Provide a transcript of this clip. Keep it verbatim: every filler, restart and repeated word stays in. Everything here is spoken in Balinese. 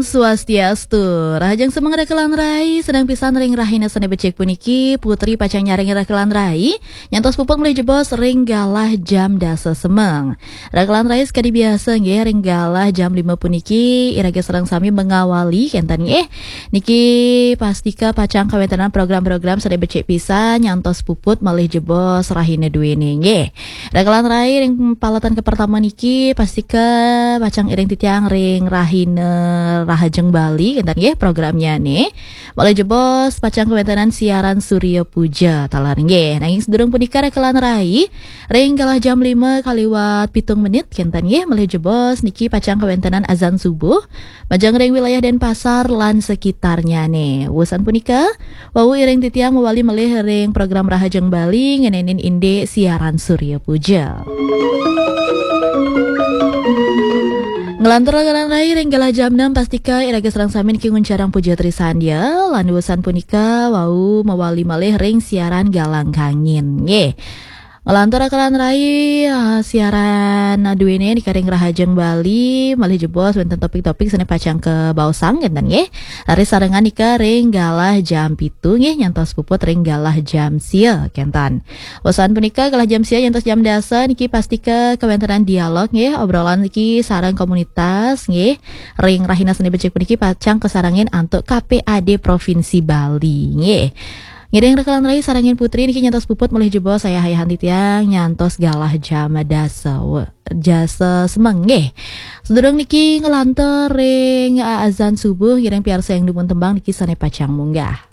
Swastiastu. Rahajeng semeng rekelan rai, sedeng pisan ring rahina sane becik puniki, Putri pacang nyaring rekelan rai, nyantos puput malih jebos ring galah jam dasa semeng. Rekelan rai sakadi biasa nggih, ring galah jam lima puniki, iraga sareng sami mengawali kenten nggih. Niki pastika pacang kawentenan program-program sane becik pisan, nyantos puput malih jebos rahina duene nggih. Rekelan rai ring paletan kapertama niki pastika pacang iring titiang ring rahina Rahajeng Bali kenten nggih programnyane. Malih jebos pacang kawentenan siaran Surya Puja taler nggih. Nanging sadurung punika rekelan rai ring galah jam lima kaliwat pitung menit kenten nggih malih jebos niki pacang kawentenan azan subuh majeng ring wilayah Denpasar lan sekitarnyane. Wusan punika, wau iring titiang mawali malih ring program Rahajeng Bali ngenenin indik siaran Surya Puja. Ngelantur rekelan rai ring galah jam enam pastika iraga sareng sami niki nguncarang puja trisandya, lan wusan punika wau mawali malih ring siaran Galang Kangin. Nggih. Ngelantur rekelan rai, ah, siaran duene nika ring Rahajeng Bali, malih jebos wenten topik-topik sane pacang kabaosang kenten nggih. Raris sarengan nika ring galah jam pitu nggih, nyantos puput ring galah jam sia kenten. Wusan punika galah jam sia nyantos jam dasa niki pastika kawentenan dialog nggih, obrolan niki sareng komunitas nggih. Ring rahina sane becik puniki pacang kasarengin antuk K P A D Provinsi Bali nggih. Ngiring rekelan rai sarengin Putri niki nyantos puput malih jebos ayah-ayahan titiang nyantos galah jam dasa we-, dasa semeng nggih. Sadurung niki ngelantur ring, ah, azan subuh, ngiring piarsa ing dumun tembang niki sane pacang munggah.